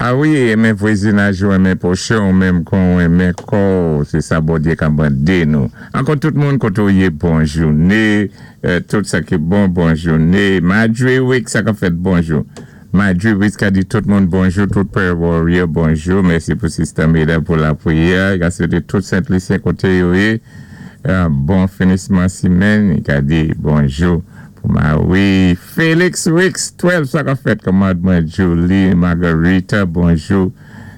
A wi, enmen vwazinaj ou, enmen pwochen ou menm kon ou enmen kò ou, sé sa Bondyé ka mandé nou. Ankò tout moun koté ou yé bon jouné, tout sa ki bon, bon jouné. Madre Wick sa kap fèt bonjou. Madre Wick ka di tout moun bonjou, tout prayer warrior bonjou, mèsi pou Sister Meda pou lapriyè, ka swété tout Sent Lisyen koté yo yé bon finisman simèn, ka di bonjou pou Marie Felix Wicks 12 sa kap fèt kòmand mwen Julie Margarita bonjou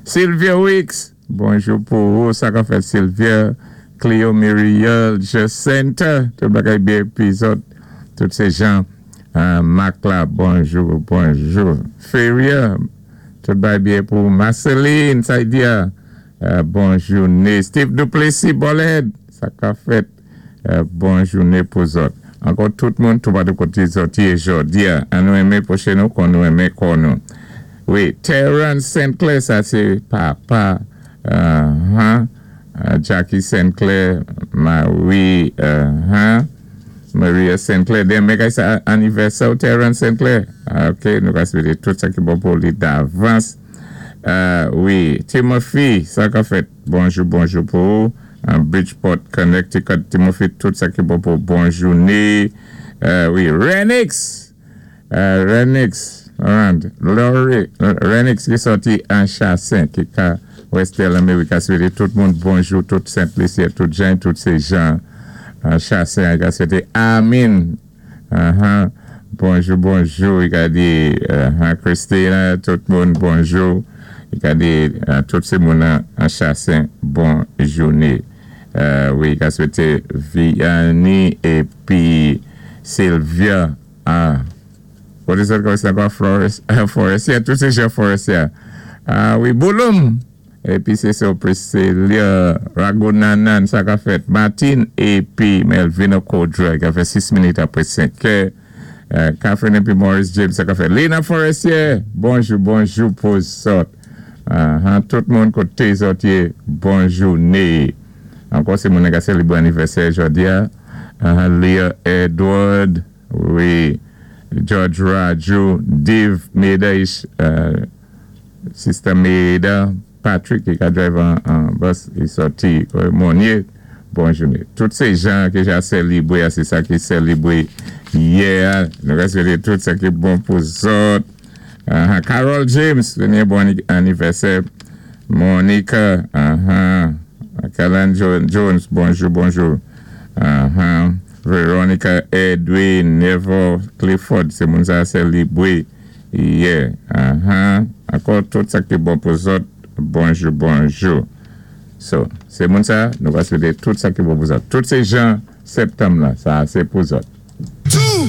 Sylvia Wicks bonjou pou ou sa kap fèt Sylvia Cleo Muriel Jacinta tout bagay byen pi zòt tout se Jean Marc la bonjou bonjou Feria tout bagay byen pou Marceline Saidia bon joune Steve Duplessis Bòlèd sa kap fèt. Bon jouné pou zòt. Ankò tout moun toupatou koté zòt yé jòdi a, an nou enmen pwochen nou kon nou enmen kò nou. Wi, Terence St. Clair sa sé papa uh-huh Jackie St. Clair, Marie uh-huh Maria St. Clair. Denmen kay sa anivèsè w Terence St. Clair? Ok, nou ka swété tout sa ki bon pou li davans. Wi, Timothy, sa ka fèt? Bonjou, bonjou pou ou. Bridgeport, Connecticut, Timothy, tout sa ki bon pou bon jouné. Wi, Renix! Renix, Rand, Laurie, Renix ki sòti an Chassin, ki ka Westdale, Amerika, swété tout moun bonjou, tout Sent Lisyen, tout Jan, tout sé Jan Chassin, ka swété Amin. Ahan bonjou bonjou li ka di ahan Christina tout moun bonjou li ka di tout se moun an chasen bon joune wi li ka swete Vianney epi Sylvia ah kote sot kòmanse ankò Flores Forestier tout se Jean Forestier ah wi Bouloum. Epi se sè w Priscilla Ragunanan sa ka fèt Martine epi Melvino Caudrel ki ka fè 6 minit apre 5 kè Catherine epi Maurice James sa ka fèt Lina Forestier bonjou bonjou pou zòt ahan tout moun kote zòt ye bon joune ankò se moun nan ka selebre anivèsè jodi a ahan Leah Edward wi George Rajou Dave Medeish Sister Meeda Patrick ki ka drive an bus li sòti Monye bon joune tout se jan ki ja selibre a se sa ki selibre yè a nou ka swete tout sa ki bon pou zòt ahan Carol James premye bon anivèsè Monica ahan Kalan Jones bonjou bonjou ahan Veronica Edwin Neville Clifford se moun sa selibre Yeah ahan ankò tout sak te bon pou zòt bonjou bonjou so se moun sa nou va swete tout sak te bon pou zòt tout se jan septanm lan sa se pou zòt.